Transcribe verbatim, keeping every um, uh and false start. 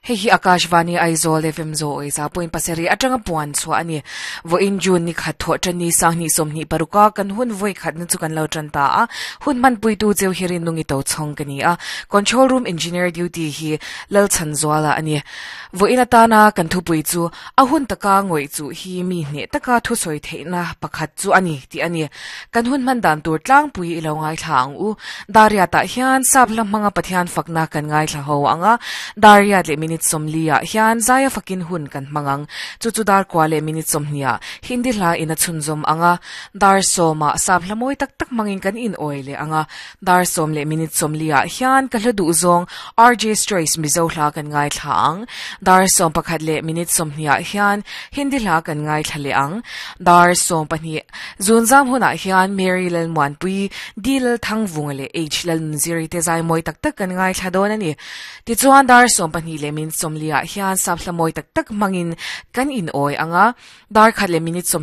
Hei hi Akashvani Aizawl F M zo oi za point pasarih atanga puan chhuah ani. Vawiin June ni khat thawh tan ni sanghnih sawmhnih paruka kan hun vawi khat na chu kan lo tan ta a. Hun hman puitu cheu hirin nungi to chhawng ka ni a. Control room engineer duty hi Lalchhan Zuala ani. Vawiin atana kan thupui chu a hun taka ngawih chu hi mi hneh taka thu sawi theihna pakhat chu ani tih ani. Kan hun hman dan tur tlangpui i lo ngaithla ang u. Dariat ah hian sap hla hmanga Pathian fakna kan ngaithla ho anga. Dariat leh minute sawmli ah hian zaia fakin hun kan hmang ang. Chu chu dar kua leh minute sawmhnih ah Hindi hla in a chhunzawm anga. Dar sawmah sap hla mawi tak tak hmangin kan in awi leh anga. Dar sawm leh minute sawmli ah hian ka hla duh zawng R J Choice Mizo hla kan ngaithla ang. Dar sawm pakhat leh minute sawmhnih ah hian Hindi hla kan ngaithla leh ang. Dar sawm pahnih zunzam hunah hian Mary Lalmuanpui, D Lalthangvunga leh H Lalnunziri te zai mawi tak tak kan ngaithla dawn ani. Tichuan dar sawm pahnih leh minute sawmli ah hian sap hla mawi tak tak hmangin kan in awi anga. Dar khat leh minute sawm